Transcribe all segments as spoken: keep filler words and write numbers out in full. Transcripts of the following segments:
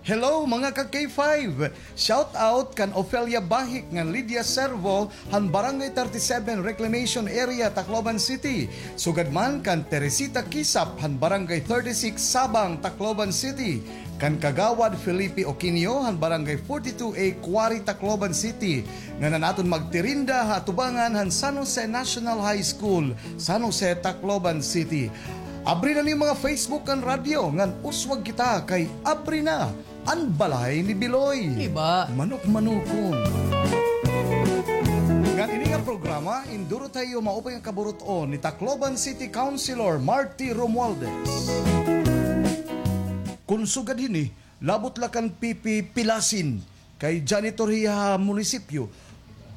Hello, mga ka K five! Shout out kan Ofelia Bahik ngan Lydia Servo han Barangay thirty-seven Reclamation Area, Tacloban City. Sugad man kan Teresita Kisap han Barangay thirty-six Sabang, Tacloban City. Kan Kagawad Felipe Oquinio han Barangay forty-two A Quarry, Tacloban City. Ngan an aton magtirinda ha atubangan han San Jose National High School, San Jose, Tacloban City. Abri na niyo mga Facebook kan radyo, ngan uswag kita kay abri na an balay ni Biloy. Iba. Manok-manokon. Ngan ini nga programa, induro ta ha iyo maupay nga kaburut-on ni Tacloban City Councilor Marty Romualdez. Kon sugad hini, labot la kan Pipi Pilasin, kay janitor hiya ha munisipyo.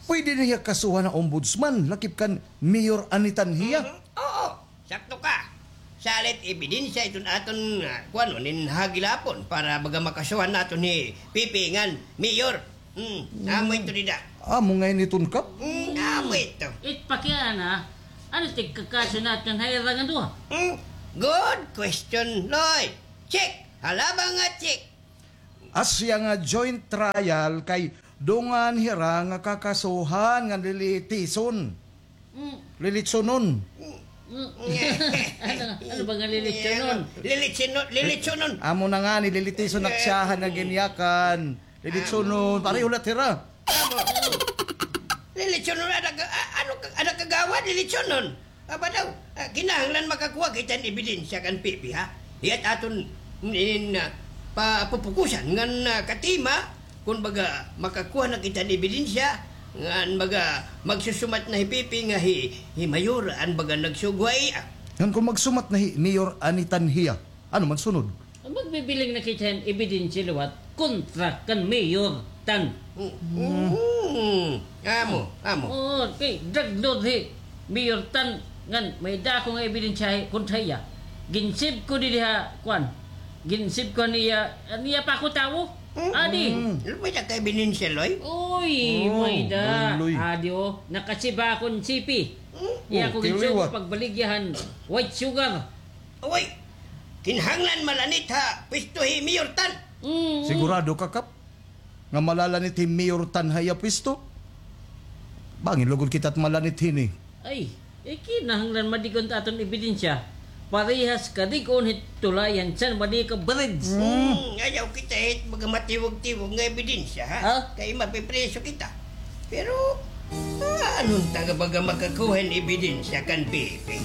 Pwede na hiya kasuhan ha ombudsman, lakip kan Mayor Anitan hiya. Mhm. Oo, sakto ka. Salit ebidensya iton aton, ah, kuan, nin ha gihapon para baga makasuhan naton hi Pipi ngan Mayor. Hmm, amo ito dida. Amo ngay-an iton, Kap? Hmm, amo ito. It pakiana, ano tigkakaso naton ha ira nga duha? Hmm, good question, Loy. Check. Halaba nga check. Asya nga joint trial kay dungan hira nga kakasuhan ngan lilitison. Mm. Lilitsonon. Mm. Ano, ano ba nga lilitsonon? Lilitsonon, lilitsonon. Amo na ngani, lilitison ak siyahan nga ginyakan. Lilitsonon, pareho la hira. Amo. Lilitsonon, ada ka, a-, ano ka, ada kagawad, lilitsonon. Aba daw, ah, kinahanglan makakuha kita hin ebidensya kan Pipi, ha? Hiya't aton inin, ah, papupukusan ngan, ah, katima, kon baga makakuha na kita hin ebidensya, ngan baga magsusumat na hi Pipi nga hi, hi Mayor an baga nagsugo ha iya. Ngan kon magsumat na hi Mayor Anitan hiya, ano man sunod? Magbibiling na kita hin ebidensya liwat kontra kan Mayor Tan. Mm. Mm. Amo, amo. Oo, kay drug lord hi Mayor Tan ngan may dako nga ebidensya hi kontra hiya. Ginsib ko didi ha, kuan. Ginsib ko niya, niya pa ako tawo. Mm. Adi. Mm. May da ka ebidensya, Loy? Uy, may da. Adi, o. Nakasiba akon sipi. Mm. Iya ko ginsugo pagbaligya han white sugar. Uy, kinahanglan malanit ha pwesto hi Mayor Tan. Mm. Sigurado ka, Kap, nga malalanit hi Mayor Tan ha iya pwesto? Bangin lugod kita't malanit hini. Ay, eh, kinahanglan madig-on ta aton ebidensya. Parehas kadig-on hit tulay han San Juanico Bridge. Mm, ayaw kita hit baga matiwag-tiwag nga ebidensya, ha? Ha? Kay mapipriso kita. Pero, ah, ano unta nga baga makakuha hin ebidensya kan Pipi?